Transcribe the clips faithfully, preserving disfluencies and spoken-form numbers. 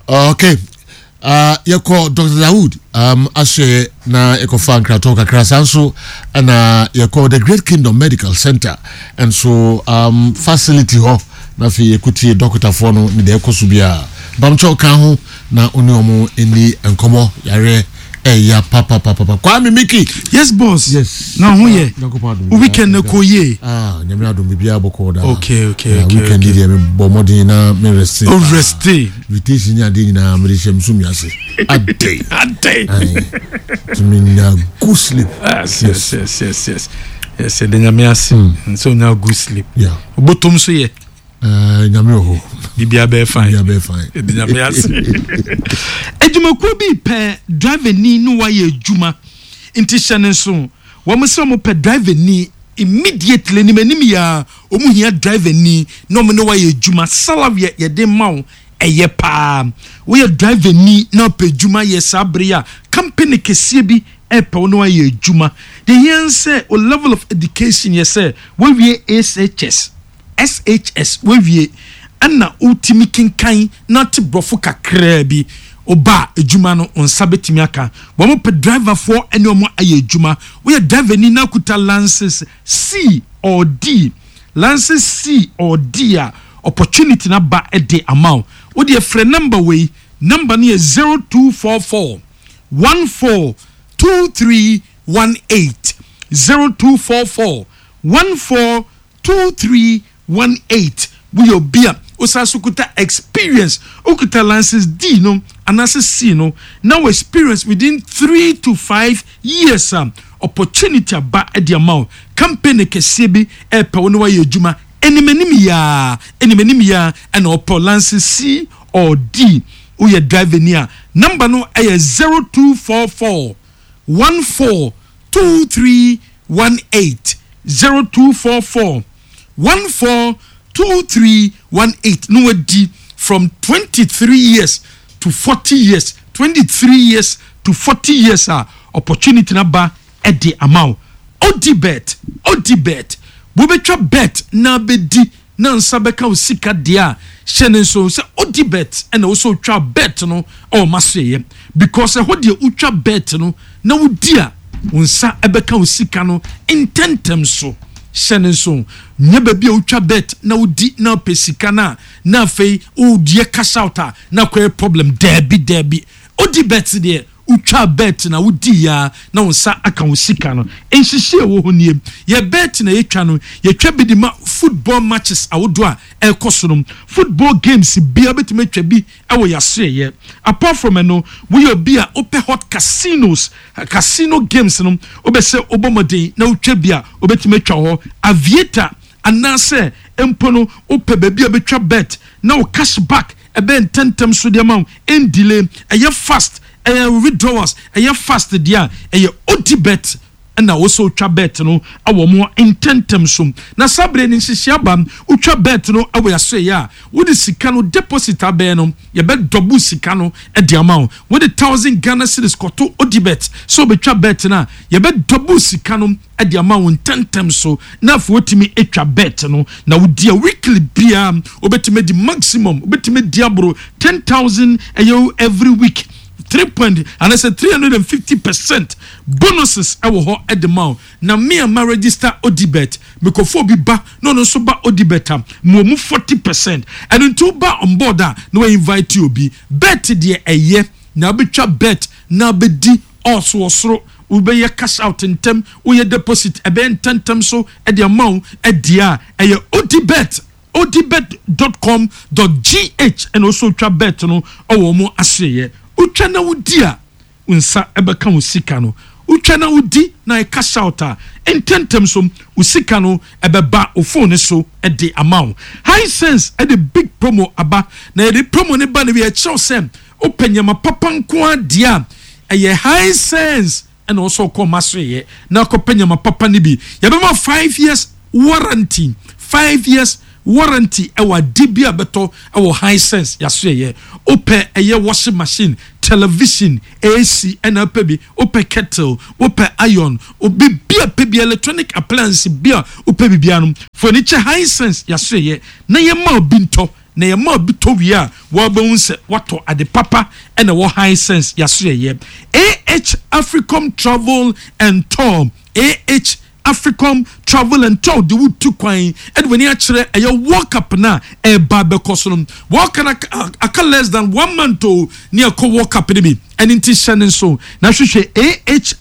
Okay, uh, yɛkɔ Doctor Dawood um, ahyɛ na yɛkɔfa nkratɔ kakra. Saa nso ɛna yɛkɔ The Great Kingdom Medical Center nso um, facility hɔ, na afei yɛkɔtie dɔkotafoɔ no ne deɛ ɛkɔ so biara. Bamkyɛw ka ho na wo ne ɔmo ani nkɔmmɔ yareɛ ɛya papapapapa. Kwame Miki. Yes, boss. Yes. Na ho yɛ? Nyankopɔn adom. Wo weekend na kɔ yie? Ah, Nyame adom, biribiara bɔkɔɔ daa. Okay, okay, Ah, okay, weekend okay. deɛ, mebɔ mmɔden na merest. O rest. Invitation ne adeɛ nyinaa mede hyɛ mso miase adɛn. Adɛn. Tumi nya good sleep. Yes, yes, yes, yes, yes. Yes, yɛde Nyame ase. Nso nya good sleep. Yeah. Obotom so yɛ. Uh, nyame wɔ hɔ. Biribiara bɛyɛ fine. Biribiara bɛyɛ fine. Yɛde Nyame ase. Adwumakuo bi pɛ driver ni ne wayɛ adwuma, nti hyɛ ne nso wɔn sɛ wɔn pɛ driver ni immediately, anim anim yia wɔn hia driver ni na wɔn ne wayɛ adwuma. Salary a yɛde ma wo ɛyɛ paa. Woyɛ driver ni na ɔpɛ adwuma yɛ saa bere a company kɛseɛ bi ɛpɛ wo na wayɛ adwuma deɛ, hia sɛ o level of education yɛ sɛ wɔawie S H S, S H S wawie, ɛna wotumi kenkan na te borɔfo kakraa bi. Ɔba adwuma no, wo nsa bɛtumi aka. Wɔn pɛ driverfoɔ ne wɔn ayɛ adwuma. Woyɛ driver ni na kuta license C or D, license C or D a, opportunity na ba de ama wo. Wodeɛ frɛ number wei, number no yɛ zero two four four one four two three one eight, zero two four four one four two three one eight. Woyɛ obi a wosan so kuta experience, wokuta license D no anaasɛ C no na wo experience within three to five years a, opportunity aba de ama wo. Company kɛseɛ bi ɛɛpɛ wo ne wayɛ adwuma anim anim yaa, anim anim yaa, ɛna ɔpɛ license C or D. Woyɛ driver ni a, number no ɛyɛ zero two four four one four two three one eight, zero two four four one four two three one eight. No, wadi from twenty-three years to forty years, twenty-three years to forty years a, opportunity na ba ɛde ama wo. Odibet, Odibet, wobɛtwa bet na bɛdi na nsa bɛka wo sika deɛ a, hyɛ ne nso sɛ Odibet ɛna wo sɛ wotwa bet no ɛwɔ ma so yɛ, because ɛhɔ deɛ wotwa bet no na wodi a, wo nsa ɛbɛka wo sika no ntɛntɛm so. Hyɛ ne nso, nyɛ baabi a wotwa bet na wodi na wopɛ sika no a, na afei wodie cash out a, na akɔyɛ problem. Daabi, daabi, Odibet deɛ, wotwa bet na wodi ya na wo nsa aka wo sika no. Nhyehyɛ ɛwɔ hɔ nie: yɛ bet na yɛtwa no, yɛtwa bi de ma football matches ahodoɔ a ɛrekɔ so no. Football games bia bɛtumi atwa bi ɛwɔ yɛasoɛyɛ. Apart from ɛno, woyɛ obi a wopɛ hot casinos, casino games no, wobɛsɛ wobɔ mmɔden na wotwa bi a, wobɛtumi atwa hɔ aviator, anaasɛ mpo no wopɛ baabi a wobɛtwa bet na wo cash back ɛbɛyɛ ntɛntɛm so deɛ ma wo, ɛndelay, ɛyɛ fast, ɛyɛ withdrawals ɛyɛ fast deɛ a, ɛyɛ Odibet ɛna wosɛ wotwa bet no awɔ mo ntɛntɛm so. Na saa bere no nhyehyɛ aba, wotwa bet no awɔ yɛasoɛyɛ a, wode sika no deposit abɛɛ no, yɛbɛdouble sika no de ama wo. Wode thousand Ghana cedis kɔto Odibet sɛ wobɛtwa bet no a, yɛbɛdouble sika no de ama wo ntɛntɛm so, na afei wotumi atwa bet no na wodi a, weekly biara wobɛtumi adi maximum, wobɛtumi adi aboro ten thousand. Ɛyɛ every week three point anaasɛ three hundred and fifty percent bonuses ɛwɔ hɔ ɛde ma wo. Na me a ma register Odibet, mekɔfo obi ba na ɔno nso ba Odibet a, mo mu forty percent. Ɛno nti woba on board a, na wa invite obi. Bet deɛ ɛyɛ na wobɛtwa bet na wobɛdi ɔso wɔ soro, wobɛyɛ cash out ntɛm, woyɛ deposit ɛbɛyɛ ntɛntɛm so ɛde ama wo. Ɛdeɛ a ɛyɛ Odibet, odibet dot com dot G H, ɛna ɔsɔ otwa bet no ɔwɔ ɔmo aseɛ. Wotwa na wodi a, wo nsa ɛbɛka wo sika no. Wotwa na wodi na ɛ cash out a, ntɛntɛm so wo sika no ɛbɛba wo phone so ɛde ama wo. Hisense ɛde big promo aba, na yɛde promo ne ba no bi ɛkyerɛw sɛ wopɛ nneɛma papa nko adeɛ a, ɛyɛ Hisense ɛna ɔsɔ kɔ ɔma so yɛ na akɔpɛ nneɛma papa no bi. Yɛbɛma five years warranty, five years warranty ɛwɔ ade bi a bɛtɔ ɛwɔ Hisense yaso yɛ. Wopɛ ɛyɛ washing machine, television, A C, ɛna wopɛ bi, wopɛ kettle, wopɛ iron, obi bi a pɛ bi, electronic appliance bi a wopɛ bi bia no, fo ani kyɛ Hisense yaso yɛ na yɛma obi ntɔ. Na yɛma obi tɔ wie a, wɔbɛhu sɛ watɔ ade papa. Ɛna wɔ Hisense yaso yɛyɛ ah Africom Travel and Tour. ah Africom Travel and Tour de wotu kwan ɛde w'ani akyerɛ ɛyɛ World Cup na ɛba bɛkɔ so no. World Cup aka less than one month o ne ɛkɔ World Cup no bi. Ɛne nti hyɛ ne nso na hwehwɛ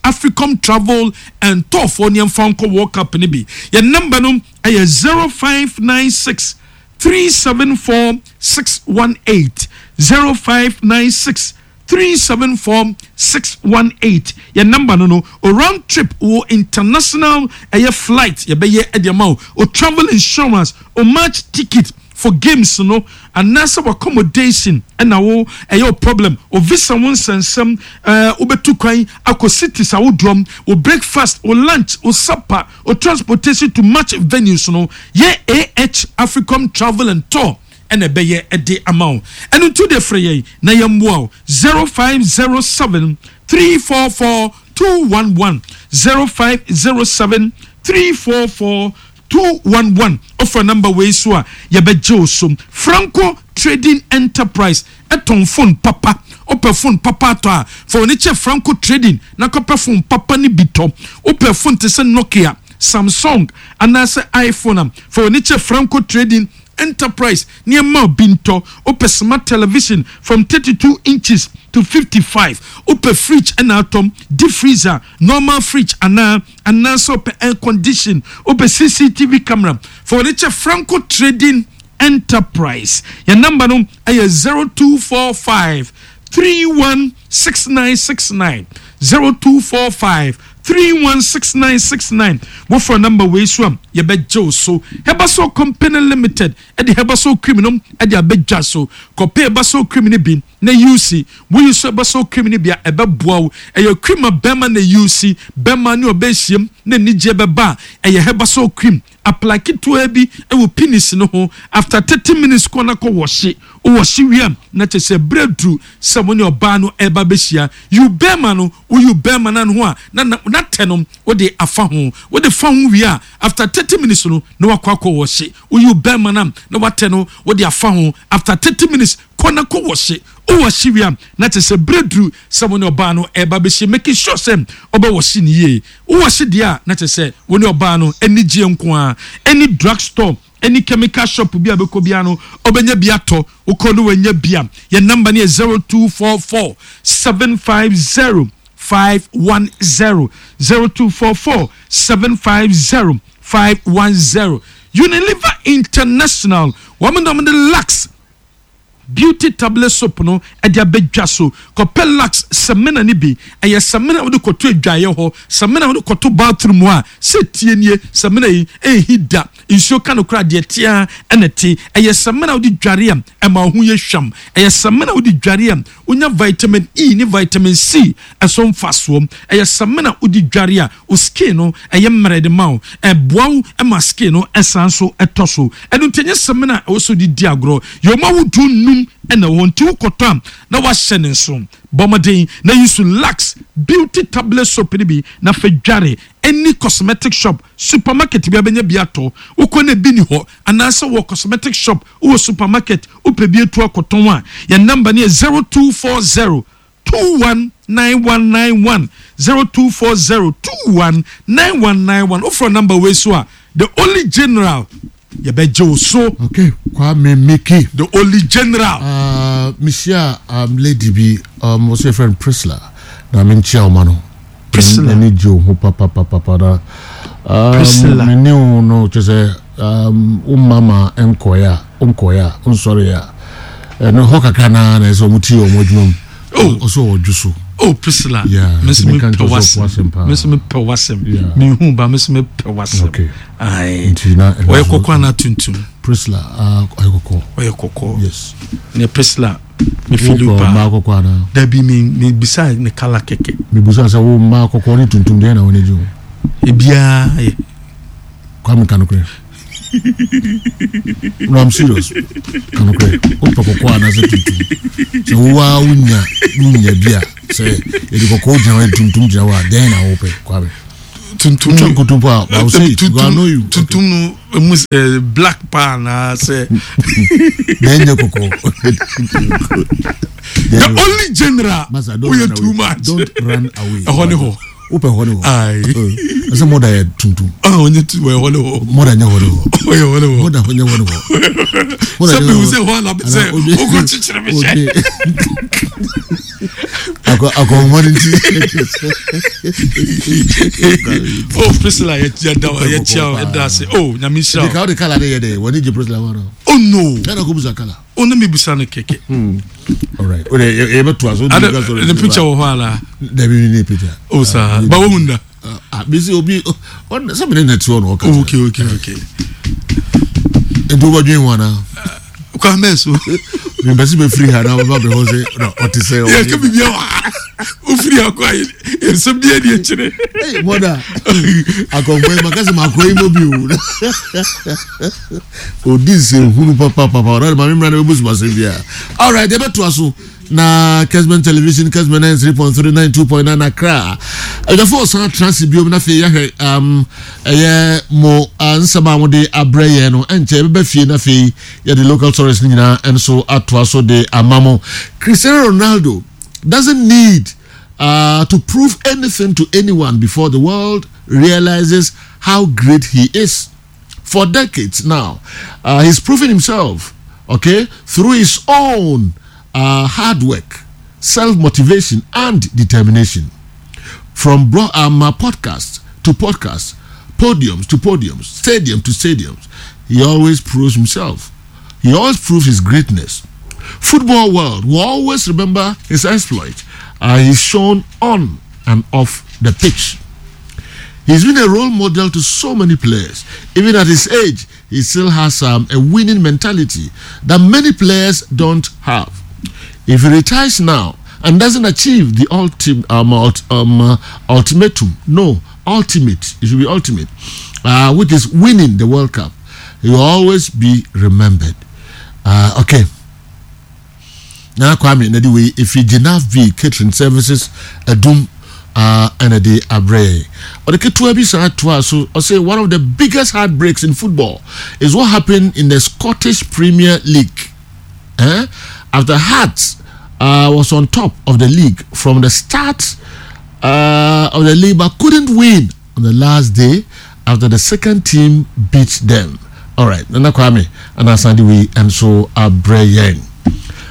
ah Africom Travel and Tour foɔ nneɛmfa nkɔ World Cup no bi. Yɛn number no ɛyɛ zero five nine six three seven four six one eight, zero five nine six three seven four six one eight. Yɛn number no no o round trip wɔ international ɛyɛ flight yɛbɛyɛ ɛde ama o o travel insurance, o match ticket for games no, anaasɛ accommodation ɛna wo ɛyɛ o problem, o visa wo nsɛnsɛm, ɛɛ wobɛtu kwan akɔ cities ahodoɔ, o breakfast, o lunch, o supper, o transportation to match venues no, yɛ ah Africom Travel and Tour ɛna ɛbɛyɛ ɛde ama wo. Ɛno nso de frɛ yɛn na yɛmmoa wo, zero five zero seven three four four two one one, zero five zero seven three four four two one one. Ɔfra number wei so a, yɛbɛgye wo so. Franco Trading Enterprise ɛtɔn phone papa. Wopɛ phone papa atɔ a, fa wɔn kyɛ Franco Trading na kɔpɛ phone papa ne bi tɔ. Wopɛ phone te sɛ Nokia, Samsung anaasɛ iPhone a, fa wɔn kyɛ Franco Trading Enterprise nneɛma bi ntɔ. Wopɛ smart television from thirty two inches to fifty five, wopɛ fridge ɛna atɔm, deep freezer, normal fridge, anaa anaasɛ wopɛ air condition, wopɛ C C T V camera, fa wɔn kyɛ Franco Trading Enterprise. Yɛn number no ɛyɛ zero two four five three one six nine six nine, zero two four five three one six nine six nine. Wofra number wei so a, yɛbɛgye wo so. Herbasol Company Limited ɛde Herbasol cream no ɛde abɛdwa so. Kɔpɛ Herbasol cream no bi na use. Woyi so Herbasol cream no bi a, ɛbɛboa wo. Ɛyɛ cream a bɛrima na use, bɛrima ne ɔbɛhyiam na anigyeɛ bɛba a, ɛyɛ Herbasol cream. Apply ketewa bi ɛwɔ penis no ho. After thirty minutes kɔ na kɔ wɔhye. Wɔhye wie a, na kyerɛ sɛ berɛ duru sɛ mo ne ɔbaa no ɛba bɛhyia. Yi bɛrima no, woyi bɛrima no ho a, na na natɛ no wode afa ho. Wode fa ho wie a, after thirty minutes no na wakɔ akɔ wɔhye. Woyi bɛrima no a, na watɛ no wode afa ho. After thirty minutes kɔ na kɔ wɔhye. Wowɔhye wie a, na kyerɛ sɛ berɛ duru sɛ mo ne ɔbaa no ɛba bɛhyia. Making sure sɛ ɔbɛwɔhye ne yie. Wowɔhye deɛ a, na kyerɛ sɛ wo ne ɔbaa no ani gye nko a. Any drug store, any chemical shop bi a bɛkɔ bia no, ɔbɛnya bi atɔ. Wokɔ no wanya bi a, yɛn number no yɛ zero two four four seven five zero five one zero, zero two four four seven five zero five one zero. Unilever International, wɔn na wɔn de Lux Beauty Tablet Soap no ɛde abɛdwa so. Kɔpɛ Lux samina no bi. Ɛyɛ samina a wode kɔto adwaeɛ hɔ, samina a wode kɔto bathroom hɔ a, sɛ tie nie, samina yi ɛnhi da nsuo ka no koraa deɛ tea ɛna te. Ɛyɛ samina a wode dware a, ɛma wo ho yɛ hwam. Ɛyɛ samina a wode dware a, wonya vitamin E ne vitamin C ɛso mfasoɔ. Ɛyɛ samina a wode dware a, wo skin no ɛyɛ mmerɛ de ma wo, ɛboa wo ɛma skin no ɛsan so ɛtɔ so. Ɛno nti ɛnyɛ samina a ɛwɔ so de di agorɔ. Yɛwɔ ahodoɔ num ɛna wɔ nti wokɔtɔ a, na wahyɛ ne nso. Bɔ mmɔden na yi so Lux Beauty Tablet Soap no bi na fɛ dware. Any cosmetic shop, supermarket bi abɛnya bi atɔ. Wokɔ na bi ni hɔ anaasɛ wɔ cosmetic shop, wowɔ supermarket, wopɛ bi etu akɔtɔn a, yɛn number no yɛ zero two four zero two one nine one nine one, zero two four zero two one nine one nine one. Wofrɛ number wei so a, the only general, yɛbɛgye wo so. Okay, Kwame Miki. The only general. uh, mehyia um, lady bi, um, wɔsɛ yɛfrɛ no Priscilla, na menkyia wo ma no. Priscilla. N'ani gye wo ho papapapapa na um, Priscilla. mene wo no kyɛ sɛ um, wo mama nkɔeɛ a, wonkɔeɛ a, wonsɔreɛ a, ɛno hɔ kakra naa na ɛsɛ ɔmo tie ɔmo adwuma mu. Oh. Ɔsɛ ɔdwo so. Oh, Priscilla. Yeah, me nso nti meka mepɛ nkyerɛ sɛ ɔpo w'asɛm. asɛm paa. Me nso mepɛ w'asɛm. Yeah. Mehu ba, me nso mepɛ w'asɛm. Okay. Aye. Nti na ɛno ɔyɛ nso- kɔkɔɔ anaa tuntum? Priscilla, uh, ɔyɛ kɔkɔɔ. Ɔyɛ kɔkɔɔ. Yes. Ne Priscilla, me feel you wopɛ paa. mmaa kɔkɔɔ anaa? Dabi, me mebisa ne colour kɛkɛ. Mebusa sɛ wo mmaa kɔkɔɔ ne tuntum deɛ na wɔn gye wo? Ebiara yɛ. Kwame, ka nokorɛ. No, I'm serious, ka nokorɛ. Wopɛ kɔkɔɔ anaasɛ tuntum? Sɛ wowaa wonya wonya bi a, sɛ yɛde kɔkɔɔ gyina hɔ, yɛde tuntum gyina hɔ a, dɛn na wopɛ, Kwame? Tuntum. Twa nkontompo a, I will say it because I know you. Tuntum no emu eh, black paa na sɛ. Na ɛnyɛ kɔkɔɔ. The only general Masa, don't woyɛ run too away. much. Don't run away. Ɛhɔ ne hɔ. Wopɛ hɔ ne hɔ. Aye. Ɛsɛ mɔda yɛ tuntum. Ah, ɔnyɛ tu wɔyɛ hɔ ne hɔ. Mɔda nyɛ hɔ ne hɔ. Ɔyɛ hɔ ne hɔ. Mɔda nyɛ hɔ ne hɔ. Mɔda Sɛ nyɛ mehu hɔ. sɛ hɔ ana sɛ Ana obi- wokɔ kyekyere me hyɛ. obi- Akɔ akɔnmɔ ne ti. Oh, Priscilla, yɛda yɛkyia wo, yɛda ase. Oh, Nyame nhyira Nka wo. wode kala ne yɛ dɛ wɔne gye Priscilla hɔ no. Oh no. Ɛna kɔ busa kala. Oh, na mebusa no kɛkɛ. All right. Wode yɛbɛtoa so. Ada ne picture wɔ hɔ ala. Dabi ne picture. Oh saa. Ba wohu nda. Ah, bisi obi ɔn sɛ mene na te hɔ na ɔka. Oh, okay, okay, okay. Nti wobɛdwen ho anaa? Kwa mɛ so. Mepɛ sɛ bɛfiri ha na wobɛba bɛhɔ sɛ na ɔte sɛ Yɛ ka biribi wɔ ha. Wofiri ha kɔ a yɛnsɛm bi adi akyire. Hey, mother. Akɔnkɔ yi maka sɛ makɔ yi mɔ bi o. Odi nsɛnhunu papapapa. Ɔno de maame mmra na bɛbu sumasɛm biara. All right, yɛbɛtoa so na Kesben Television, Kesben ninety-three point three, ninety-two point nine Accra. Adwafo ɔsan atena ase biom na afei yɛahwɛ um, ɛyɛ mo uh, nsɛm a mode abrɛ yɛn no. Ɛnkyɛ yɛbɛba fie na afei yɛde local stories no nyinaa nso atoa so de ama mo. Cristiano Ronaldo doesn't need uh, to prove anything to anyone before the world realizes how great he is. For decades now, uh, he's proven himself, okay, through his own uh, hard work, self motivation, and determination. From bro- um, uh, podcast to podcast, podiums to podiums, stadium to stadiums, he always proves himself. He always proves his greatness. Football world will always remember his exploit. Uh, he's shown on and off the pitch. He's been a role model to so many players. Even at his age, he still has um, a winning mentality that many players don't have. If he retires now and doesn't achieve the ultim, um, ult, um, uh, ultimatum, no, ultimate, it should be ultimate, uh, which is winning the World Cup, he will always be remembered. Uh, okay. Nana Kwame na de wei efi Genaf V Catering Services Adum uh, ɛna de abrɛ. Ɔde ketewa bi saa toa so. Ɔsɛ one of the biggest heartbreaks in football is what happened in the Scottish Premier League, eh? After Hearts uh, was on top of the league from the start uh, of the league but couldn't win on the last day after the second team beat them. All right, Nana Kwame ɛna asan de wei nso abrɛ yɛn.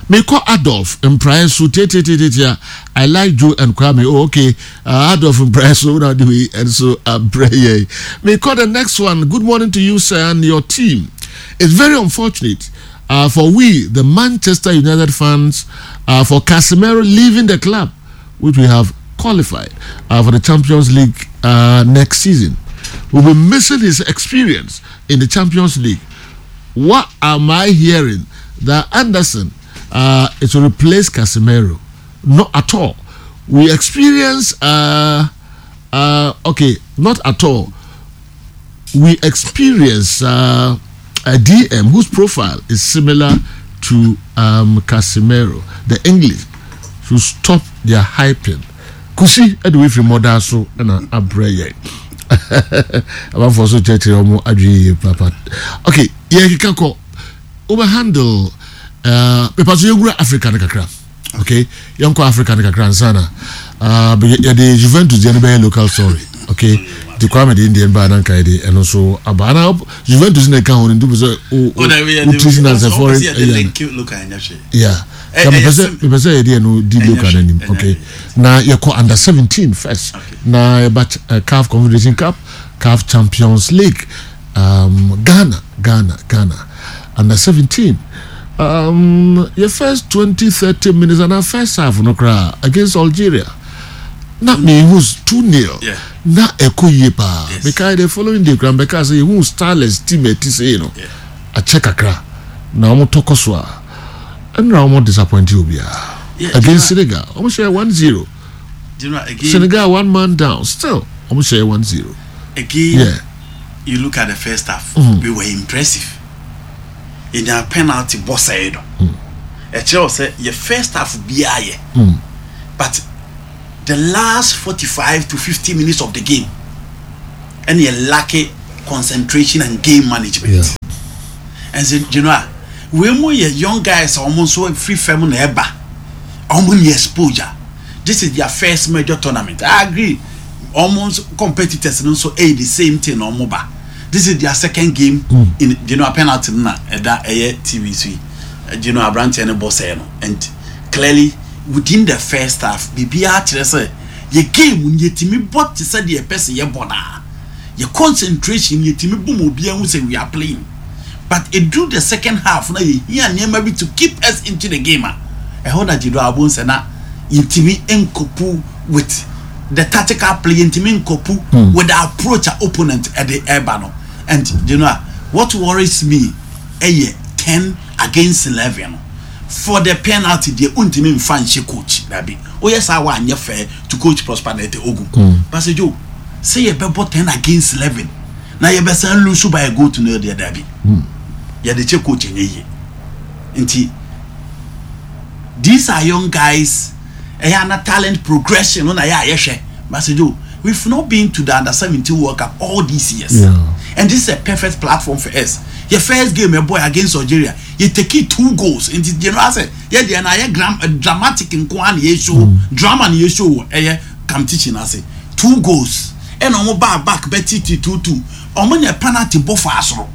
Mekɔ Adolf Mprae so tietietie. I like Joe and Kwame. Oh, okay. uh, Adolf Mprae so na de wei nso abrɛ yɛn. Mekɔ the next one. Good morning to you, sir, and your team. It's very unfortunate uh, for we, the Manchester United fans, uh, for Casemiro leaving the club, which we have qualified uh, for the Champions League uh, next season. We'll be missing his experience in the Champions League. What am I hearing? That Anderson uh, is to replace Casemiro? Not at all. We experience, uh, uh, okay, not at all. We experience uh, a D M whose profile is similar to um, Casemiro. The English should stop their hyping. Kusi ɛde wei firi mɔda so ɛna abrɛ yɛn. Amanfoɔ so kyerɛkyerɛ wɔn adwene yie papa. Okay, yɛkeka kɔ wobɛ handle uh, pepa so yɛwura Africa no kakra. Okay, yɛnkɔ Africa no kakra nsa na uh, yɛde Juventus deɛ no bɛyɛ local story. Okay, nti Kwame de Indian baa nanka yɛde ɛno nso aba ana Juventus na ɛka ho no, nti sɛ wo treat no as a foreign yeah. Mepɛ sɛ mepɛ sɛ yɛde ɛno di local no anim. Okay, na yɛkɔ under seventeen first na yɛba uh, CAF Confederation Cup, CAF Champions League. um, Ghana Ghana Ghana under seventeen, um, your first twenty thirty minutes and our first half no koraa against Algeria na mehu two nil na ɛkɔ yie paa. Mekae the following day koraa mbɛka sɛ yɛhu starless team ɛti sɛ no akyɛ kakra na wɔn tɔkɔ so a ɛnna wɔn disappoint obiara against Senegal. Wɔn hyɛ one zero. Senegal one man down, still wɔn hyɛ one zero. Again, yeah. You look at the first half, mm. we were impressive. Yɛnya penalty bɔ sɛɛ no, ɛkyerɛ wɔ sɛ yɛ first half biara yɛ, but the last forty-five to fifty minutes of the game Ɛna yɛ lack concentration and game management. Yeah. And so you know a wei mu yɛ young guys a wɔn nso firi fam na ɛba, wɔn ni exposure. This is their first major tournament. I agree, wɔn nso competitors no nso ɛyɛ the same thing na wɔn ba. This is their second game mm. in you know penalty no na ɛda ɛyɛ T V so yi, you know aberanteɛ no bɔ sɛɛ no, and clearly within the first half, biribiara kyerɛ sɛ yɛ game no yɛtumi bɔ te sɛ deɛ yɛpɛ sɛ yɛbɔ naa, yɛ concentration yɛtumi bɔ mu, obiara ho sɛ we are playing. But edu the second half na yɛhia nneɛma bi to keep us into the game a ɛhɔ na gyedo abo nsɛ na yɛntumi ncope with the tactical play, yɛntumi ncope mm. with the approach a opponent ɛde ɛba no. And you know what worries me, ɛyɛ ten against eleven for the penalty deɛ, ntumi nfa nhyɛ coach dabi. Oyɛ saa wa anyɛ fair to Coach Prosper Narteh Ogum mm. Pastor Joe, sɛ yɛbɛbɔ ten against eleven na yɛbɛsan lose by a goal to nil deɛ, dabi, yɛde kyɛ coach nyɛ yie. Nti these are young guys, ɛyɛ ana talent progression no na yɛ a yɛhwɛ. Pastor Joe, we've not been to the Under seventeen World Cup all these years Yeah. and this is a perfect platform for us. Yɛ first game ɛbɔ against Algeria, yɛ take two goals. Nti you know asɛ yɛ deɛ na yɛ gram uh, dramatic nko ara na yɛ show drama na yɛ show wɔ ɛyɛ competition ase. Two goals ɛna wɔn baa back bɛ titi two two, wɔn nyɛ penalty bɔ fa asoro.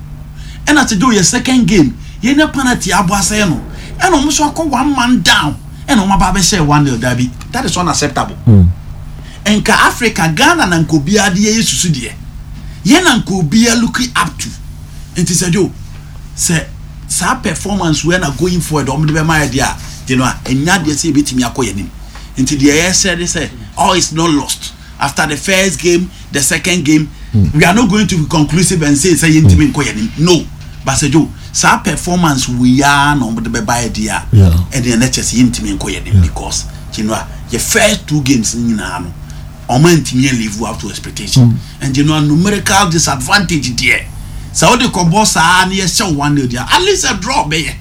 Ɛna te do yɛ second game, yɛn nyɛ penalty abɔ asɛn no, ɛna wɔn nso akɔ one man down, ɛna wɔn aba abɛhyɛ one nil. Dabi, that is unacceptable. Nka Africa, Ghana na nka obiara de yɛyɛ susu deɛ, yɛn na nka obiara looking up to. Nti sɛ jo sɛ saa performance wei na going forward ɔmo de bɛma yɛ deɛ a, deɛ no a ɛnya deɛ sɛ yɛbɛtumi akɔ yɛn anim. Nti deɛ yɛsɛ de sɛ all is not lost after the first game, the second game mm. we are not going to be conclusive and say sɛ yɛntumi nkɔ yɛn anim no. But sɛ jo saa performance wei ara na ɔmo de bɛba yɛ deɛ a, ɛdeɛ ɛnɛ kyɛ sɛ yɛntumi nkɔ yɛn anim, because you know yɛ first two games nyinaa no, ɔmo ntumi yɛ live up to expectation mm. And you know numerical disadvantage deɛ, sɛ wode kɔbɔ saa na yɛhyɛ one nil deɛ, at least a draw bɛyɛ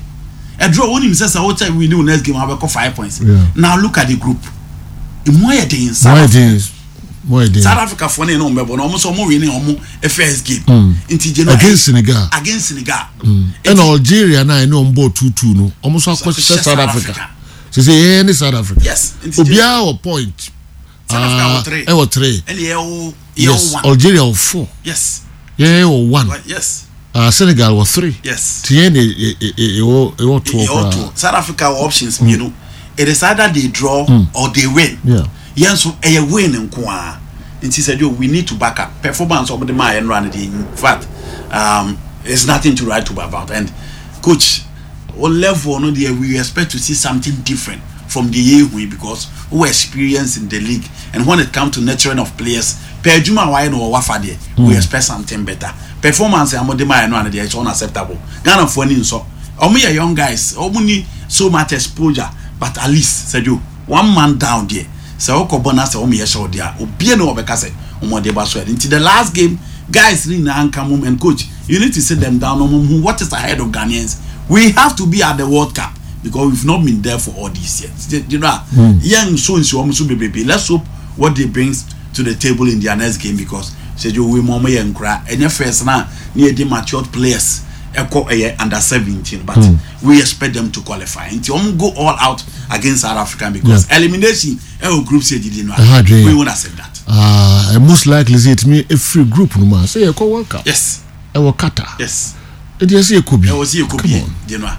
a draw. Wonim sɛ sɛ wokyɛ win wo next game, abɛkɔ five points Yeah. Now look at the group, emu ayɛ den. Mo ayɛ den, mo ayɛ den. South Africa foɔ ne yɛn na ɔmo bɛbɔ na ɔmo nso ɔmo win ɔmo first game nti gye no Against Senegal. Against Senegal. Ɛna Algeria na ɛne ɔmo bɔɔ two two no, ɔmo nso akɔhyɛ South Africa sese yɛn ne South Africa. Yes, nti gye- Obiara wɔ point. South Africa Ah, wɔ three. Ɛwɔ three. Ɛna yɛ wɔ yɛ Yes wɔ one. Algeria wɔ four. Yes yɛn wɔ one. Yes uh, Senegal wɔ three. Yes ti yɛn de ɛwɔ ɛwɔ toɔ yɛ wɔ two. koraa. South Africa wɔ options mmienu. It is either they draw or they win. Yeah. Yɛn nso ɛyɛ win nko ara. Nti sɛ jo, we need to back up performance ɔmo de maa yɛn nora no deɛ, in fact, um, it's nothing to write to about. And coach o level no deɛ, we expect to see something different from the year yi, because we experience in the league, and when it come to nurturing of players per adwuma a wayɛ no wɔ wafa deɛ, we expect something better. Performance a mo de maa yɛn no ano deɛ, it's unacceptable. Ghana foɔ ni nsɔ, ɔmo yɛ young guys, ɔmo ni so much exposure, but at least sɛjo one man down deɛ, sɛ ɔkɔ bɔ na sɛ ɔmo yɛ hyɛ ɔdeɛ a, obie na ɔbɛka sɛ ɔmo de ba so yɛ. Nti the last game, guys ni nyinaa nka mom, and coach, you need to sit them down ɔmo hu what is ahead of Ghanaians. We have to be at the World Cup because we've not been there for all these years you know Yɛn nso nsi wɔn so bebrebe. Let's hope what they bring to the table in their next game, because sɛjo wei mu ɔmo yɛ nkora, ɛnyɛ first na ne yɛ de matured players ɛkɔ ɛyɛ under seventeen, but mm. we expect them to qualify. Nti wɔn go all out against South Africa because yeah. elimination ɛwɔ group stage di no, Ɛha adwene. we won't accept that. Uh, most likely sɛ yɛtumi ɛfiri group no mu a, sɛ yɛkɔ World Cup yes ɛwɔ Qatar. Yes ɛnti ɛsɛ yɛkɔ bi. Ɛwɔ si yɛ kɔ Come bi on. di no a,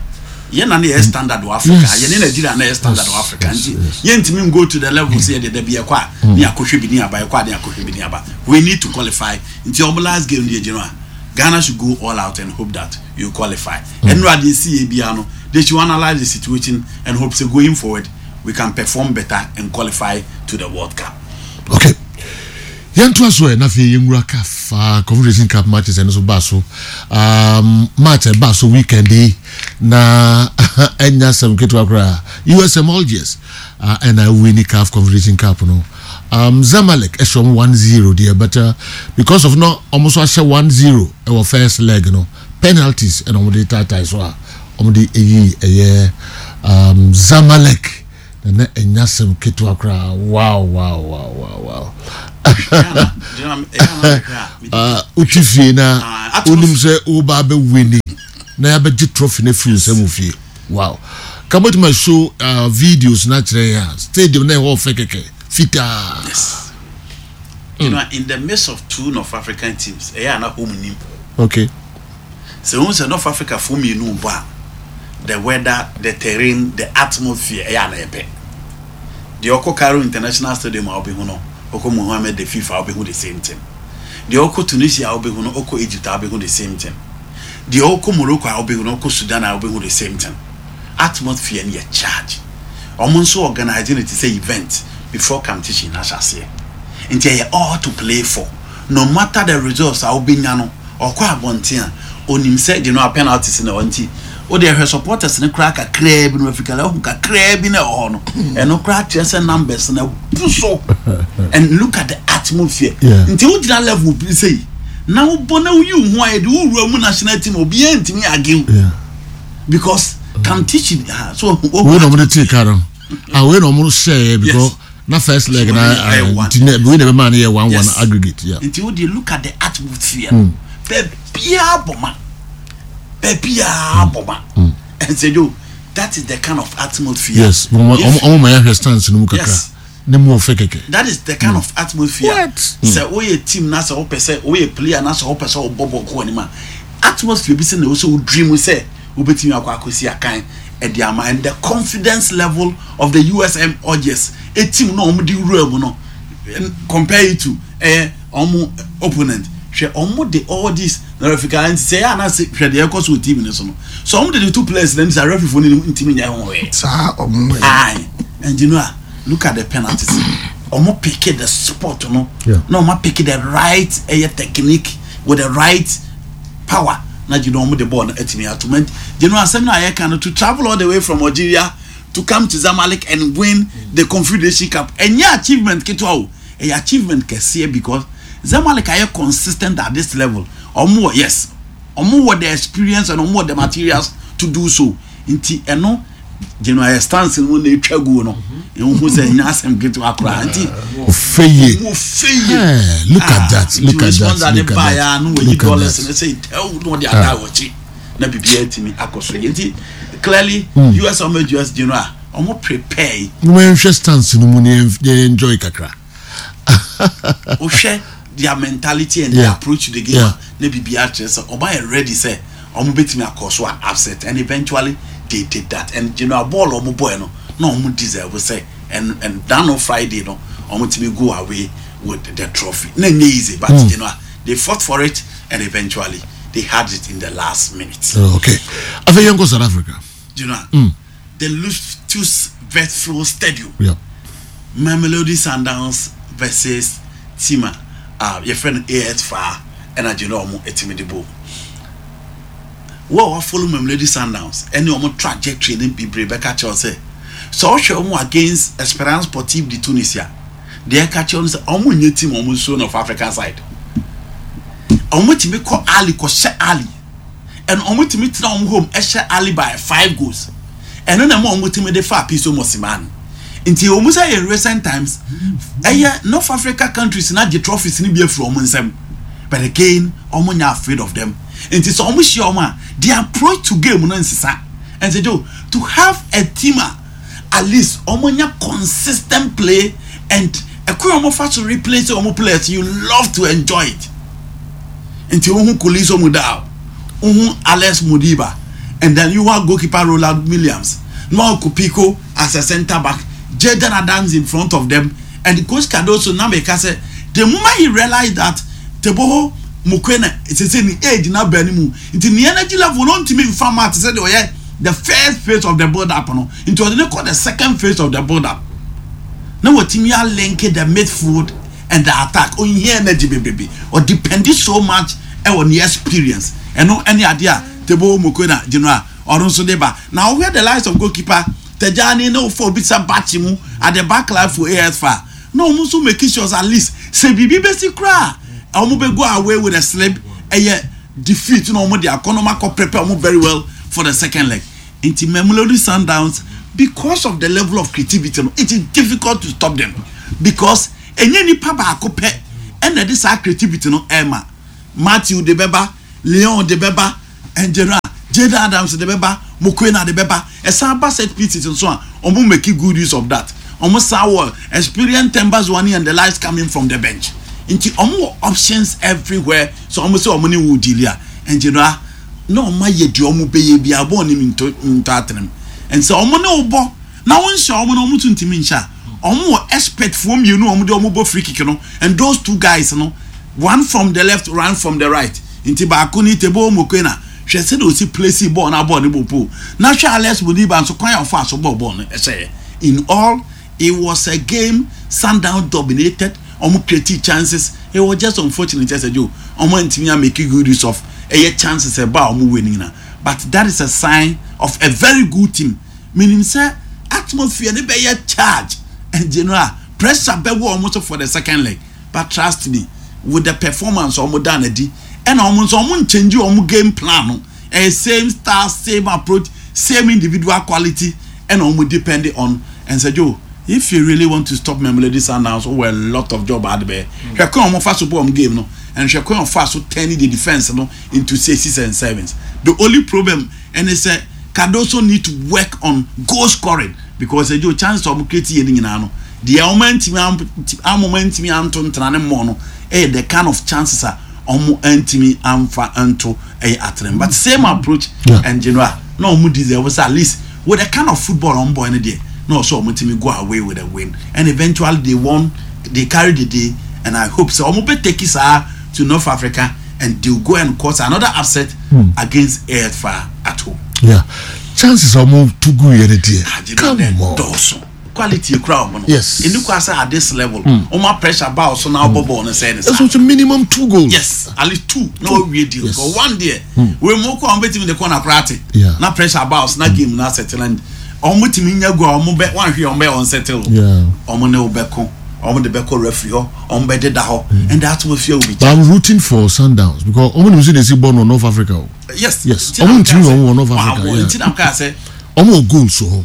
yɛn na ne yɛ standard wɔ Africa. Yes. Yɛne Nigeria na yɛ standard wɔ Yes, Africa. yes, Nti yes. yɛntumi go to the level sɛ yɛde dabi yɛkɔ a ne akɔhwɛ bi ne aba, yɛkɔ a ne akɔhwɛ bi ne aba. We need to qualify. Nti ɔmo last game deɛ gyina a, Ghana should go all out and hope that you qualify. Ɛnura deɛ si yɛ bia no, they should analyse the situation and hope say going forward we can perform better and qualify to the World Cup. Okay, yɛntoa so ɛ na afei yɛnwura CAF uh, Confederation Cup matches. Ɛno so baa so, um, match ɛbaa so weekend yi na ɛnya asɛm ketewa koraa. U S M Algiers uh, ɛna win CAF Confederation Cup no. um, Zamalek ɛhyɛ ɔmo one zero deɛ, but uh, because of no ɔmo nso ahyɛ one zero ɛwɔ first leg no, penalties ɛna ɔmo de taataa so a ɔmo de eyi ɛyɛ um, Zamalek na na ɛnya asɛm ketewa koraa. Wow, wow, wow, wow, wow. Wotwi fie na wonim sɛ woba bɛwini na yɛabɛgye trophy no afiri nsɛm wo fie. Wow, ka mɛtumi show uh, videos na kyerɛ yɛn a stadium na ɛhɔ ɔfɛ kɛkɛ fitaa. Yes. You know, in the midst of two North African teams, ɛyɛ ana home nim. Okay sɛ ohun sɛ North Africa fo mmienu bɔ a, the weather, the terrain, the atmosphere, ɛyɛ ana ɛpɛ. Deɛ ɔkɔ Cairo International Stadium a ɔbɛhu no, ɔkɔ Mohammed the Fifth a ɔbɛhu the same thing. Deɛ ɔkɔ Tunisia a ɔbɛhu no, ɔkɔ Egypt a ɔbɛhu the same thing. Deɛ ɔkɔ Morocco a ɔbɛhu no, ɔkɔ Sudan a ɔbɛhu the same thing. Atmosphere no yɛ charge. Ɔmo nso organize no te sɛ event before competition n'ahyɛ aseɛ, nti ɛyɛ all to play for, no matter the results a wobɛnya no. Ɔkɔ abɔnten a onim sɛ de no a penalties na ɔnti o de ɛhwɛ supporters ne koraa kakraa bi no, Africa ɛho kakraa bi na ɛwɔ hɔ no, ɛno koraa kyerɛ sɛ numbers na bu so, and look at the atmosphere. Yeah. Nti wogyina level bi sɛ na wobɔ na woyi wo ho ayɛ de wowura mu national team, obiara ntumi argue Yeah. because competition, ah, so wei na ɔmo de tee car no, ah, wei na ɔmo hyɛɛ because Yes. na first leg na Ɛyɛ ah, one. nti na wei na ɛbɛma no yɛ one one Yes. aggregate, yeah. Nti wo de look at the atmosphere no, baabiaa bɔ ma, baabiaa bɔ ma, and jo, that is the kind of atmosphere. Yes, ɔmo If- ɔmo ma yɛahwɛ stands no mu kakra Yes. ne mu ɔfɛ kɛkɛ. That is the kind of atmosphere. What? Sɛ woyɛ team na sɛ wopɛ sɛ woyɛ player na sɛ wopɛ sɛ wobɔ bɔ kɔ anim a, atmosphere bi sɛ na ɛwɔ sɛ wo dream sɛ wobɛtumi akɔ akɔsi akan ɛde ama, and the confidence level of the U S M Algiers a team na ɔmo de wura mu no, n- compare it to ɛyɛ ɔmo opponent. Hwɛ, ɔmo de all this na referee nti sɛ ɛyɛ anase, hwɛ deɛ ɛkɔ so wɔ team ne so no, so ɔmo de the two players na nti sɛ referee fo no ntumi nyɛ ho hwee. Saa ɔmo yɛ. Aye, and you know ah, look at the penalties. Ɔmo pick the spot no. Yeah. Na ɔmo pick the right ɛyɛ technique with the right power. Na you know ɔmo de ball no ɛtumi ato. And you know asɛm na ayɛ kan no, to travel all the way from Algeria to come to Zamalek and win the Confederation Cup, ɛnyɛ achievement ketewa o, ɛyɛ achievement kɛseɛ because Zamalek ayɛ consistent at this level. Ɔmo wɔ, yes, ɔmo wɔ the experience and ɔmo wɔ the materials to do so. Nti ɛno gyina ayɛ stance no mu na etwa gu no, ehu sɛ ɛnyɛ asɛm ketewa koraa, nti ɔfɛ yie. mo fɛ yie. Eh, look at that, look at that, look at that, no, wɔyi look at dollars that. no sɛ ɛwɔ na ɔde ada wɔkyi na biribiara tumi akɔ so yie, nti clearly U S ɔmo U S general ɔmo prepare. Mo ma yɛnhwɛ stands no mu na yɛn yɛn enjoy kakra. Wohwɛ their mentality and their Yeah. approach to the game Yeah. na biribiara kyerɛ sɛ ɔmo ayɛ ready sɛ ɔmo bɛtumi akɔ so a upset, and eventually they did that. And general ball ɔmo bɔɛ no na ɔmo deserve sɛ and and that on Friday no, ɔmo tumi go away with the trophy. Na nye easy, but mm. you know they fought for it and eventually they had it in the last minute. Oh, okay, afei yɛnkɔ South Africa. you know mm. the Loftus Versfeld Stadium, yeah. Mamelodi Sundowns versus team a uh, yɛfrɛ no A S F A R, ɛna gyina ɔmo ɛtumi de bɔ wo a wafollow Mamelodi Sundowns ɛne ɔmo trajectory ne bebree bɛka kyerɛw sɛ sɛ ɔhwɛ ɔmo against Esperance Sportive de Tunisia, deɛ ɛka kyerɛw no sɛ ɔmo nye team ɔmo nsuo of African side. Ɔmo tumi kɔ Ahly kɔhyɛ Ahly, and ɔmo tumi tena ɔmo home ɛhyɛ Ahly by five goals. Ɛno na ɛma ɔmo tumi de fa Pitso Mosimane. Nti ɔmo sɛ in recent times ɛyɛ North Africa countries na gye trophies ni bi efiri ɔmo nsam, but again ɔmo nya afraid of them. Nti sɛ ɔmo hyia ɔmo a, the approach to game no nsesa. Nti jo, to have a team a at least ɔmo nya consistent play and ɛkwan ɔmo fa so replace ɔmo players, you love to enjoy it. Nti ohun Khuliso Mudau, ohun Alex Modiba, and then you have goalkeeper Ronwen Williams, Noah Kopiko as a centre back, Jayden Adams in front of them, and Coach Cardoso na meka sɛ the moment he realized that Teboho Mokoena sese ni age na bɛn mu, nti ni energy level no ntumi nfa ma te sɛ de ɔyɛ the first phase of the build up no, nti ɔde ne kɔ the second phase of the build up na wɔtumi alink the midfield and the attack. Ohia energy bebrebe, ɔdepend so much ɛwɔ ne experience. Ɛno ɛne adeɛ a Teboho Mokoena general ɔno nso de ba. Na ɔhwɛ the likes of goalkeeper Tejani na ofo obi sɛ bakyi mu at the back line for A S F A R, na ɔmo nso make sure at least sɛ biribi bɛsi koraa, ɔmo bɛ go away with a slip, ɛyɛ defeat, na ɔmo de akɔ na ɔmo akɔ prepare ɔmo very well for the second leg. Nti Mamelodi Sundowns, because of the level of creativity no, it is difficult to stop them because Enye nipa baako pɛ ɛna ɛde saa creativity no ɛma. Matthew de bɛba, Leon de bɛba, Engineer Jayden Adams de bɛba, Mokoena de bɛba. Ɛsan ba set pieces nso a, ɔmo make good use of that. Ɔmo san wɔ experience Themba Zwane and the likes coming from the bench, nti ɔmo wɔ options everywhere. So ɔmo sɛ ɔmo ne wo deal a, Engineer, na ɔmo ayɛ deɛ ɔmo bɛyɛ bi abɔ ne ntɔ ntɔ atenam. Nti ɔmo ne wo bɔ na wɔn nhyɛ ɔmo na ɔmo tún ntumi nhyɛ a, ɔmo wɔ expert foɔ mmienu a ɔmo de ɔmo bɔ free kick no, and those two guys no, one from the left, one from the right. Nti baako ni Teboho Mokoena, hwɛ sɛ de osi place bɔɔl na bɔɔl ne bɔ pole, na hwɛ Alex Modiba nso, kwan a ɔfa so bɔɔl bɔɔl no ɛhyɛ yɛ. In all, it was a game Sundown dominated. Ɔmo created chances. It was just unfortunate sɛ Joe, ɔmo ntumi a make good use of ɛyɛ chances ɛba a ɔmo win nyina, but that is a sign of a very good team, meaning sɛ atmosphere ne bɛyɛ charge and general pressure bɛwɔ ɔmo so for the second leg. But trust me, with the performance ɔmo da n'adi, ɛna ɔmo nso ɔmo nkyɛnji ɔmo game plan no, ɛyɛ same style, same approach, same individual quality ɛna ɔmo depend on. And sɛ Joe, if you really want to stop Mamelodi Sundowns, wɔ a lot of job adi bɛyɛ. Hwɛ kwan ɔmo fa so bɔ ɔmo game no, and hwɛ kwan ɔfa so turning the defence no into sixes and sevens. The only problem ɛne sɛ Cardoso need to work on goal scoring, because ɛgye chance ɔmo create yɛ ne nyinaa no deɛ, ɔmo ntumi amoma ntumi anto ntena ne mmɔ no, ɛyɛ the kind of chances a ɔmo ntumi amfa nto ɛyɛ atrem, but same approach. Yeah. And general na ɔmo deserve sɛ at least with the kind of football ɔmo bɔ no deɛ, na ɔsɛ ɔmo tumi go away with a win, and eventually they won, they carry the day, and I hope sɛ ɔmo bɛ take it saa to North Africa and they will go and cause another upset mm. against A S F A at home. Yeah, chances a ɔmo to gu yɛ ne deɛ, come on. Dɔɔso, quality ekura ɔmo no. Yes. Enu kwa sɛ at this level, ɔmo pressure ba ɔso na ɔbɔ bɔɔl no sɛ ne sa. Ɛso so minimum two goals. Yes, at least two na ɔwie deal. Yes. But one deɛ, wei mu kɔ ɔmo bɛtumi de kɔ na kora ate. Yeah. Na pressure ba ɔso na game na settle, and ɔmo tumi nya go a, ɔmo bɛ wɔn ahwɛ ɔmo bɛ unsettle. Yeah. Ɔmo ne wo bɛko, ɔmo de bɛkɔ referee hɔ, ɔmo bɛ deda hɔ, and the atmosphere will be. But I'm rooting for Sundowns because ɔmo nim sɛ de si bɔ no North Africa o. Yes. Yes. Nti na Ɔmo meka ntumi sɛ- wɔn wɔ North Africa, Wɔn- yeah. Nti na meka sɛ Ɔmo wɔ goals wɔ hɔ.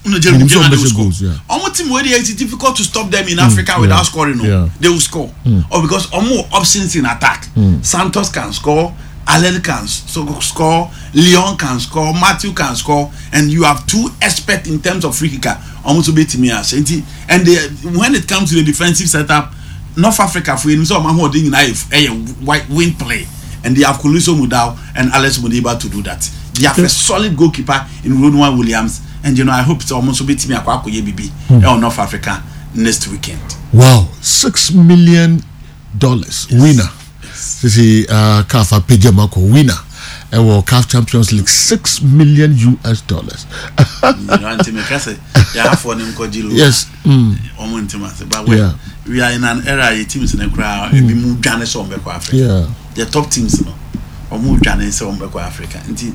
No, Jeremy, Minim sɛ Jeremy ɔmo they will bɛhyɛ score. goals, yeah. Ɔmo team wey dey, it's difficult to stop them in Africa without yeah. scoring. No, Yeah. they will score. Or because ɔmo wɔ options in attack. Santos can score, Allen can so score, Leon can score, Matthew can score, and you have two experts in terms of free kicker. Ɔmo nso betumi ahyɛ nti, and they, when it comes to the defensive setup, North Africa for yɛn sɛ ɔmo ahoɔden nyinaa yɛ ɛyɛ white wing play, and they have Khuliso Mudau and Alex Modiba to do that. They have a solid goalkeeper in Ronwen Williams, and you know I hope sɛ ɔmo nso betumi akɔ akɔyɛ bibi ɛwɔ North Africa next weekend. Wow, six million dollars winner. Sisi uh, CAF apagya mu akɔ winner ɛwɔ CAF Champions League, six million U S dollars. Nti meka sɛ yɛafoɔ ne nkɔgye lo. Yes. Mm. Ɔmo ntem ase, but we, Yeah. we are in an era yɛ teams ne koraa ebi mu dwane sɛ ɔmo bɛkɔ Africa. Yeah. The top teams no, ɔmo dwane sɛ ɔmo bɛkɔ Africa, nti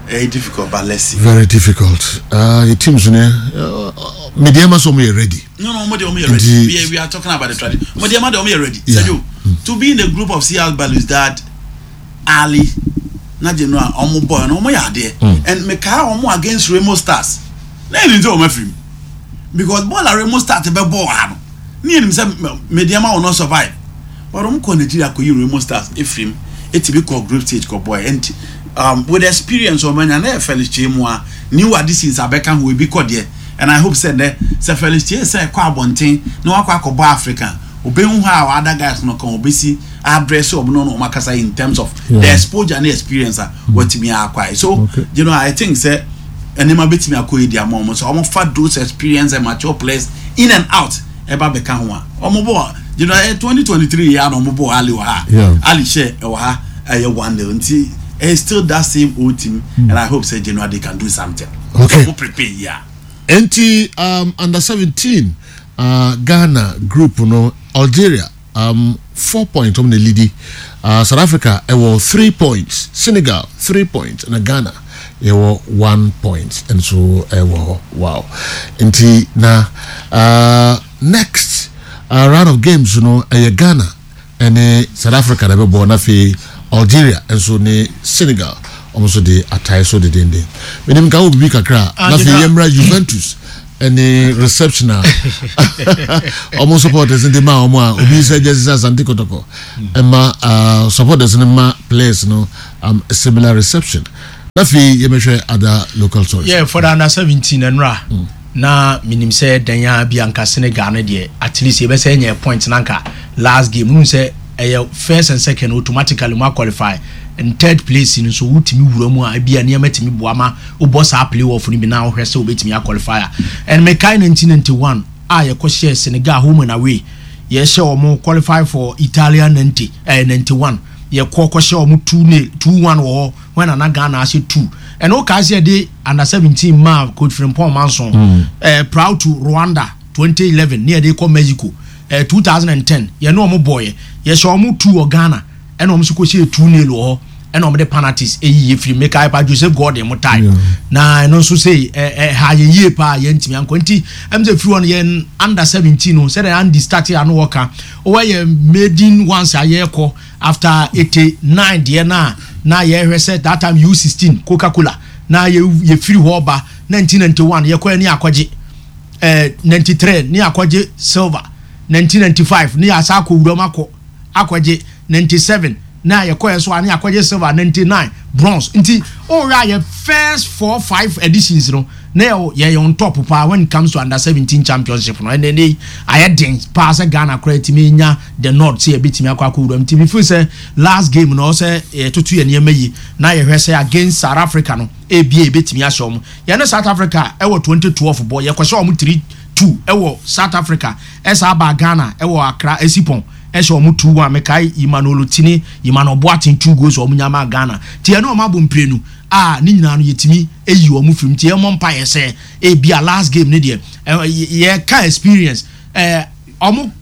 ɛyɛ difficult, but let's see. Very difficult. Uh, your teams ne uh, Medeama sɛ ɔmo yɛ ready. No, no, ɔmo de ɔmo yɛ Nti- ready. We are, we are talking about the tradition. Ɔmo de ɔmo de ɔmo yɛ ready. Yeah. Sergio, to be in the group of C R Belouizdad, Ahly, na gye no a ɔmo bɔ no, ɔmo yɛ adeɛ, and mekaa ɔmo against Remo Stars na yɛn nti ɔmo afiri mu, because bɔɔl a Remo Stars bɛ bɔɔl ha no ne yɛn nim sɛ Medeama will not survive, but ɔmo kɔ Nigeria kɔ yi Remo Stars efiri mu, etimi kɔ group stage kɔ bɔɔl, and um, with experience ɔmo anya na yɛ Felix Kyei mu a new additions abɛka ho ebi kɔ deɛ, and I hope sɛ nɛ sɛ Felix Kyei sɛ ɛkɔ abɔnten na wakɔ akɔbɔ Africa, obehu how other guys no kan obesi address ɔmo no na ɔmo akasa in terms of Yeah. the exposure and experience a wɔtumi akɔ so. Okay. You know I think sɛ nneɛma bɛtumi akɔ yi di ama ɔmo so ɔmo fa those experience and mature players in and out ɛba bɛka ho a ɔmo bɔ, you know twenty twenty three yɛ ana ɔmo bɔ Ahly wɔ ha. Yeah. Ahly hyɛ ɛwɔ ha, ɛyɛ one nil, nti it's still that same old team, and I hope say January they can do something. Okay. Ɔmo prepare yia. Nti um, under seventeen uh, Ghana group no, Algeria um, four points, ɔmo na lead. uh, South Africa ɛwɔ three points, Senegal three points, na Ghana yɛwɔ one point nso ɛwɔ hɔ. Wow, nti na uh, next uh, round of games no ɛyɛ Ghana ɛne South Africa na ɛbɛbɔ, na afei Algeria nso ne Senegal, ɔmo nso de atae so dedenden. Menim nka wɔ bibi kakra Ah, na afei gyina- yɛmmra Juventus Ɛne reception a ɔmo supporters de ma ɔmo a obi sɛ gye sɛ Asante Kotoko ɛma uh, supporters no ma players no um, a similar reception. Na afei yɛmɛhwɛ other local stories. Yeah, for the under seventeen ɛnora na minim sɛ dan a bi anka Senegal no deɛ, at least yɛbɛsɛ nyɛ point na anka last game nu sɛ ɛyɛ first and second, automatically mu qualify, and third place no nso wotumi wura mu a, ebi a nneɛma tumi boa ma wobɔ saa play off no bi na wohwɛ sɛ wobɛtumi aqualify a. And mekae nineteen ninety-one a yɛkɔhyɛ Senegal home and away, yɛhyɛ wɔn qualify for Italian ninety eh, ninety-one, yɛkɔ kɔhyɛ wɔn two nil, two one wɔ hɔ when ana Ghana ahyɛ two. Ɛna wokae sɛ yɛde under seventeen maa Coach Frimpong Manson mm. eh, proud to Rwanda twenty eleven ne yɛde kɔ Mexico eh, twenty ten, yɛne wɔn bɔɔyɛ, yɛhyɛ wɔn two wɔ Ghana, ɛna wɔn nso kɔhyɛ two nil wɔ hɔ, ɛna wɔn de penalties eyi yɛ firi. Mekae pa Joseph Gordon mo time na ɛno nso sɛ ɛ ɛ ha yɛ yie paa, yɛntumi ankɔ. Nti ɛm sɛ firi hɔ no, yɛn under seventeen no, sɛdeɛ Andy start ano wɔka, wɔyɛ maiden ones a yɛrekɔ after eighty nine deɛ na na yɛhwɛ sɛ that time U sixteen Coca Cola na yɛ yɛfiri hɔ ba nineteen ninety one, yɛkɔ ne akɔgye ɛɛ ninety three ne akɔgye silver, nineteen ninety five ne yɛasa akɔ wuram akɔ akɔgye, ninety seven na yɛkɔ yɛ so a ne akɔgye silver, ninety nine bronze. Nti ɔwɔ a yɛ first four five editions no na yɛ yɛ on top paa when it comes to under seventeen championship no. Ɛnna ɛnɛ ayɛ den paa sɛ Ghana koraa tumi nya the north sɛ yɛbɛtumi akɔ akɔ wuram. Nti mi feel sɛ last game no, ɔsɛ yɛtoto yɛ nneɛma yi na yɛhwɛ sɛ against South Africa no, ebie ebɛtumi ahyɛ wɔn. Yɛne South Africa ɛwɔ twenty twelve bɔ, yɛkɔhyɛ wɔn three two ɛwɔ South Africa, ɛsa aba Ghana ɛwɔ Accra Esipɔn, ɛhyɛ wɔn two one. Mekae Emmanuel Otini, Emmanuel Boateng two goals wɔn nyama Ghana. Ti ɛne wɔn abɔ mprenu a ne nyinaa no yɛtumi eyi wɔn firim. Ti ɛmɔ mpa yɛ sɛ ebi a last game ne deɛ yɛka experience ɛɛ ɔmo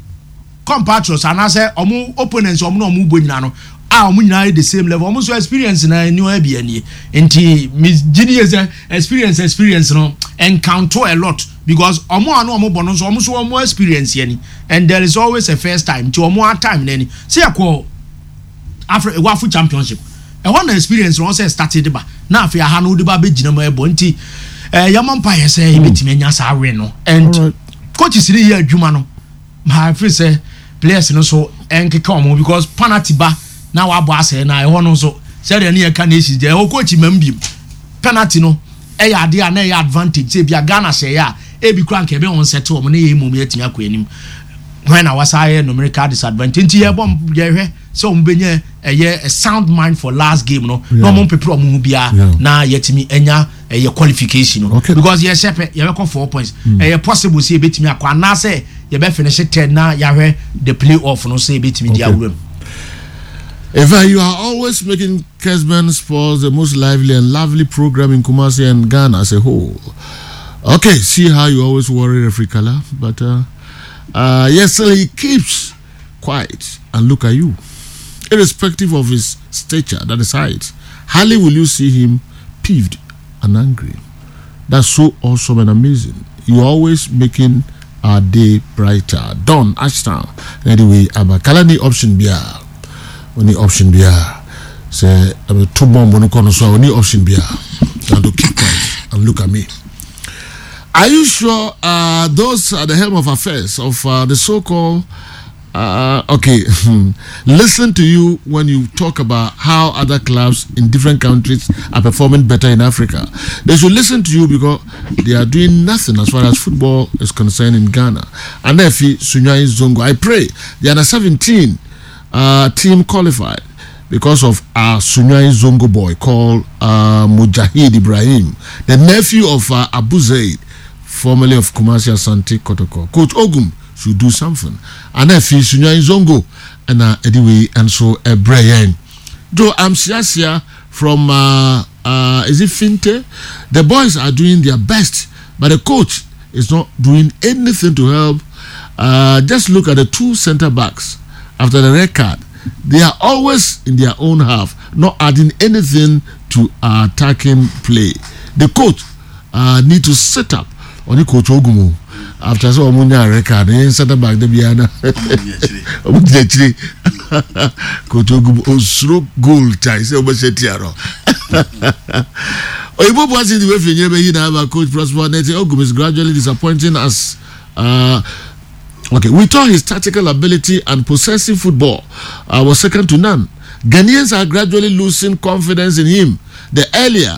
compatriots anaasɛ ɔmo opponents, ɔmo na ɔmo bɔ nyinaa no a ɔmo nyinaa yɛ the same level, ɔmo nso experience na ɛni wɔn ɛbi ɛnie. Nti mi gyi ni yɛ sɛ experience experience no encounter a lot because ɔmo a no ɔmo bɔ no nso, ɔmo nso ɔmo experience yɛ ni, and there is always a first time. Nti ɔmo a time n'ani sɛ yɛkɔ Afri WAFU Championship, ɛhɔ na experience no ɔsɛ start de ba na afei aha no de ba abɛgyina mu ɛbɔ. Nti ɛɛ yɛmɔ mpa yɛ sɛ yɛbɛtumi anya saa win no, and coaches ni yɛ adwuma no maa fi sɛ players no so ɛnkeka wɔn, because penalty ba na wabɔ asɛe na ɛhɔ no nso sɛdeɛ ne yɛka nations deɛ, ɛhɔ coach mam biem penalty no ɛyɛ adeɛ a na ɛyɛ advantage sɛ ebi a Ghana hyɛ yɛ a, ebi kura nka ebe wɔn nsɛte wɔn ne yɛ emom yɛtumi akɔ anim hwɛn na wasa ayɛ numerical disadvantage. Nti yɛbɔ yɛhwɛ sɛ wɔn bɛnya ɛyɛ a sound mind for last game no na wɔn mpepere wɔn ho biara na yɛtumi anya ɛyɛ qualification no, Okay. because yɛhyɛ pɛ yɛbɛkɔ four points. Ɛyɛ possible sɛ yɛbɛtumi akɔ anaasɛ yɛbɛ finish third na yɛahwɛ the play off no sɛ yɛbɛtumi di Okay. awura mu. In fact, you are always making Kesben Sports the most lively and lovely program in Kumasi and Ghana as a whole. Okay, see how you always worry referee Kala, but uh, uh, yes, still he keeps quiet and look at you. Irrespective of his stature, that is height, hardly will you see him peeved and angry. That's so awesome and amazing. You're always making our day brighter. Don Ashtown. Anyway, Abba Kala ni option bia. Only option bia. Say, I'm two bomb on the so only option bia. And to keep quiet and look at me. Are you sure uh, those at the helm of affairs of uh, the so-called uh, okay, listen to you when you talk about how other clubs in different countries are performing better in Africa? They should listen to you because they are doing nothing as far as football is concerned in Ghana. And if Sunyani Zongo, I pray the under seventeen uh, team qualified because of our Sunyani Zongo boy called uh, Mujahid Ibrahim, the nephew of uh, Abu Zaid, formerly of Kumasi Asante Kotoko. Coach Ogum should do something. And if Sunyani Zongo and uh, anyway, and so uh, Brian. Joe, I'm Siasia from, uh, uh, is it Finte? The boys are doing their best, but the coach is not doing anything to help. Uh, just look at the two center backs after the red card. They are always in their own half, not adding anything to our attacking play. The coach uh, need to sit up on the coach Ogumu after so ɔmo nya red card ne center back de bia na ɔmo gyina akyire. Coach Ogum osuro goal tai sɛ ɔbɛhyɛ tia no. Oyibo Boateng the way fi nyere bɛyi na aba. Coach Prosper Nete Ogum is gradually disappointing us. Uh, okay, we thought his tactical ability and possessive football uh, was second to none. Ghanaians are gradually losing confidence in him. The earlier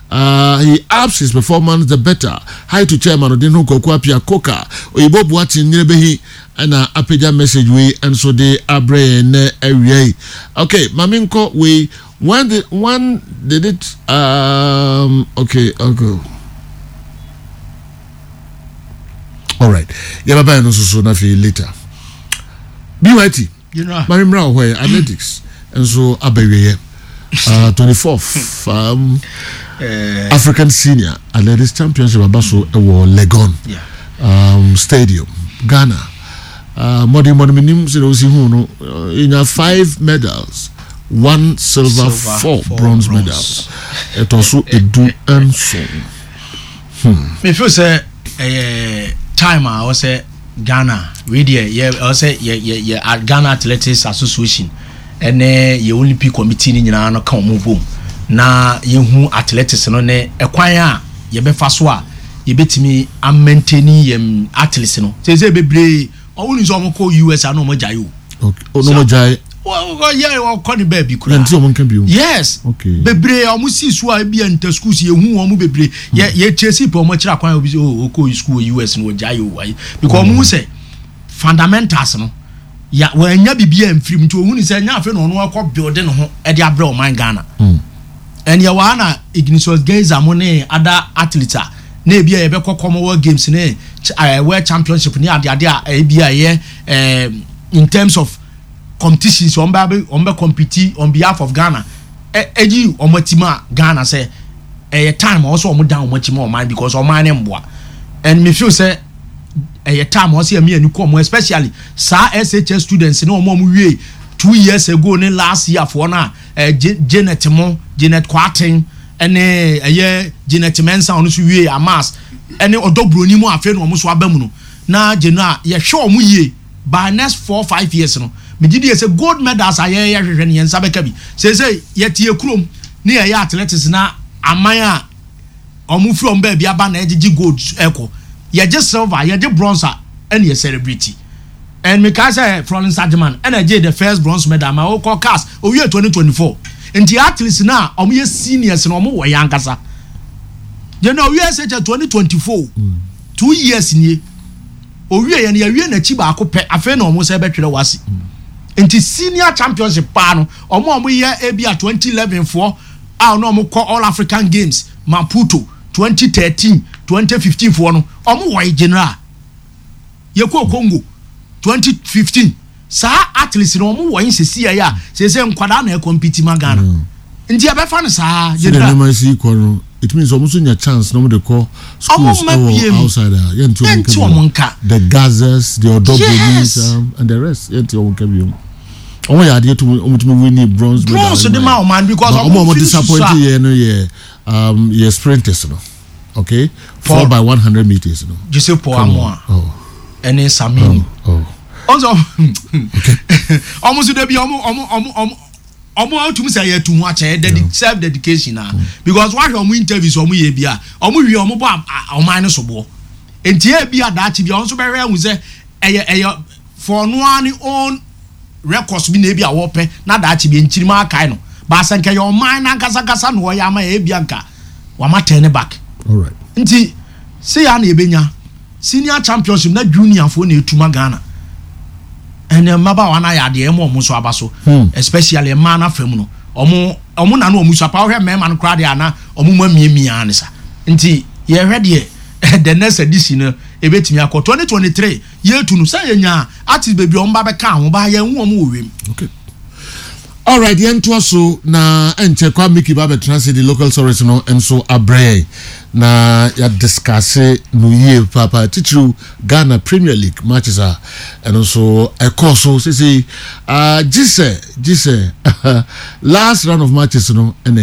uh, he ups his performance, the better. Hi to Chairman Odino Koku Koka. Oyibo Boateng nyere bɛyi ɛna apagya message wei nso de abrɛ yɛn nɛ awia yi. Okay, maame nkɔ wei. When did when did it um okay okay all right, yɛbɛba yɛn no nso so na afei later. B Y T, maame mmra wɔ hɔ yɛ athletics nso aba awieɛ, uh, twenty-fourth um, uh, African Senior Athletics Championship aba so ɛwɔ Legon Yeah. um, Stadium. Ghana uh, mmɔden mmɔden menim sɛ na wosi hu no, uh, yɛnya five medals, one silver, silver, four, four bronze, bronze. Medals ɛtɔ so edu nson. Me feel sɛ ɛyɛ time a ɔwɔ sɛ Ghana wei deɛ yɛ ɔwɔ sɛ yɛ yɛ yɛ a- Ghana Athletics Association ɛne yɛ Olympic Committee ne nyinaa no ka wɔn bom na yɛhu athletics no ne ɛkwan a yɛbɛfa so a yɛbɛtumi amaintain yɛn athletes no. Sɛ bebree ɔwɔ ni sɛ ɔmo kɔ U S a na ɔmo gyae o. Okay, oh, no mo gyae. Wɔ yɛ ɔkɔ ne baabi koraa. Na nti ɔmo nka bio. Yes. Okay. Bebree a ɔmo si so a ebi yɛ nta schools, yɛhu wɔn bebree yɛ yɛ kyerɛ pɛ ɔmo akyerɛ akwan a obi sɛ, oh, okɔ school wɔ U S no, wɔgya yɛ o ayi, because ɔmo hu sɛ fundamentals no ya wɔanya bibi a mfirim, nti ohun sɛ nya afei na ɔno akɔ build ne ho ɛde abrɛ ɔman Ghana. Ɛnni ɛwɔ ha na Ignisious Gaisah mo ne other athletes a na ebi a yɛbɛkɔ Commonwealth Games ne ch- ɛɛ World Championship ne adeade a ebi a yɛ ɛɛ in terms of competitions wɔn bɛ wɔn bɛ compete on behalf of Ghana, ɛ ɛgyi wɔn akyi ma Ghana sɛ ɛyɛ time a wɔsɔ wɔn dan wɔn akyi ma ɔman, because ɔman ne mboa. And me feel sɛ ɛyɛ time a wɔsɛ ɛmi ani kɔ wɔn, especially saa S H S students ne wɔn a wɔn wie two years ago ne last year foɔ no a ɛ Janet mo, Janet Kwaten ɛne ɛyɛ Janet Mensah, ɔno nso wie amas ɛne ɔdɔ buroni mu. Afei na wɔn nso aba mu no na gyenu a yɛhwɛ wɔn yie by next four five years no, megye di yɛ sɛ gold medals a yɛyɛ hwehwɛ no, yɛn nsa bɛka bi. Seesei yɛte kurom ne yɛyɛ athletics na aman a ɔmo firi ɔmo baabi aba na ɛgyegye gold ɛkɔ, yɛgye silver, yɛgye bronze a ɛna yɛ celebrate. And mika sɛ Florence Agyeman ɛna ɛgye the first bronze medal ma ɔkɔ CAS owie twenty twenty four. Nti athletes na ɔmo yɛ seniors na ɔmo wɔ yɛn ankasa yɛn na owie S H S twenty twenty four, two years nie owie yɛn, yɛwie n'akyi baako pɛ. Afei na ɔmo sɛ ɛbɛtwerɛ wasi. Nti senior championship paa no, ɔmo a ɔmo yɛ ebi a twenty eleven foɔ a ɔno ɔmo kɔ All African Games Maputo twenty thirteen, twenty fifteen foɔ no, ɔmo wɔ general yɛkɔ Congo twenty fifteen. Saa athletes no, ɔmo wɔ nsesi yɛ a sese nkwadaa na ɛcompete ma Ghana, nti yɛbɛfa no saa. Sɛ general nneɛma si kɔ no, it means ɔmo nso nya chance na ɔmo de kɔ schools Ɔmo mma ɛwɔ biem. outside a yɛnti ɔmo Yɛnti nka ɔmo bio. nka. The Gazas, the Odobonis Yes. um, and the rest, yɛnti ɔmo nka bio. Ɔmo yɛ adeɛ tum, ɔmo tumi win bronze medal. Bronze de ma ɔman because But ɔmo a ɔmo firi disappoint susu a- yɛ no yɛ um, yɛ sprinters no, okay, four Paul- by one hundred meters no. Joseph Paul Amoa Oh. ɛne Samini. Oh. Ɔnso ɔmo nso debi ɔmo ɔmo ɔmo ɔmo ɔmo atumi sɛ yɛ tu ho akyɛ dedi self dedication na because wahwɛ ɔmo interviews ɔmo yɛ bi a ɔmo wie ɔmo bɔ a- a- ɔman no so boɔ. Nti ebi adaakye bi a ɔmo nso bɛhwɛ ɛhu sɛ ɛyɛ ɛyɛ for ɔno ara ne own records bi na ebi a wɔpɛ na daakye bi nkyirima akae no baasa nkɛ yɛ ɔman n'ankasakasa na ɔyɛ ama yɛ ebi anka wama turn back. All right. Nti se ya na ebenya senior championship na junior foɔ na etuma Ghana ɛnna mmabaawa no ayɛ adeɛ ɛmo ɔmo nso aba so, Hmm. especially mmaa no afam no, ɔmo ɔmo na no ɔmo so apa. Ɔhwɛ mmarima no koraa deɛ ana ɔmo mu amiamia ne sa. Nti yɛhwɛ deɛ the next edition no ebetumi akɔ twenty twenty three. Yɛtu no sɛ yɛnya artist bebree ɔmo ba bɛka ho ba yɛn hu ɔmo wɔ wiem. Okay, all right, yɛn toa so na ɛnkyɛ kwa Miki ba bɛtena se de local stories no nso abrɛ yɛn na yɛadiscuss no yie paapa, titiriw Ghana Premier League matches a ɛno nso ɛkɔɔ so sese uh, gye sɛ gye sɛ last round of matches no ɛna